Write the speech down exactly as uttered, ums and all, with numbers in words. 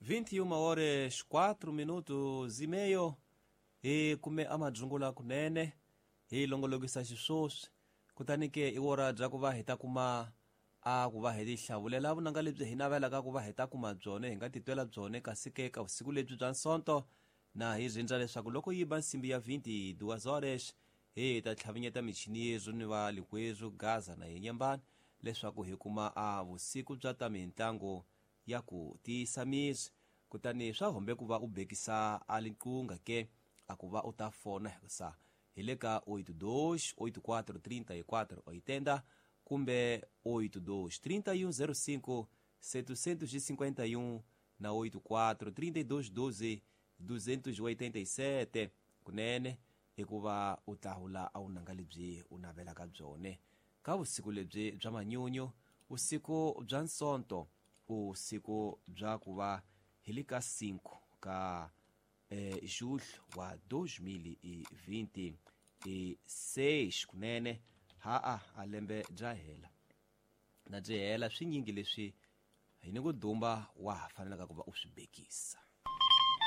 vinte e uma horas quatro minutos e meio hi kume amadzungula kunene hi longolokisa xiswoswi kutani ke i wora bya ku va hi ta kuma a ku va hi tihlavulela vunanga lebyi hi navelaka ku va hi ta kuma byone hi nga titwela byone kasi ke ka vusiku lebyi bya nsonto na hi rindza leswaku loko yi ba nsimbi ya vinte e duas horas hi ta tlhavinyeta michini yezwo ni va likwezwo Gaza na Yenyambani leswaku hi kuma a vusiku bya ta mintlangu ya ku tiyisa miri kutani swa hombe ku va u bekisa a liqunga ke a ku va u ta fona hikusa hi le ka oito dois oito quatro trinta e quatro oitenta kumbe oito dois trinta e um zero cinco setecentos e cinquenta e um na oito quatro trinta e dois doze duzentos e oitenta e sete kunene hikuva u tlahula a wu nanga lebyi u navelaka byone ka vusiku lebyi bya manyunyu vusiku bya nsonto usiku bya ku va hi le ka cinco ka eh, julho wa dois mil e vinte e seis kunene ha-a a lembe bya hela na byi hela swinyingi leswi hi ni ku dumba wa ha fanelaka ku va u swi bekisa.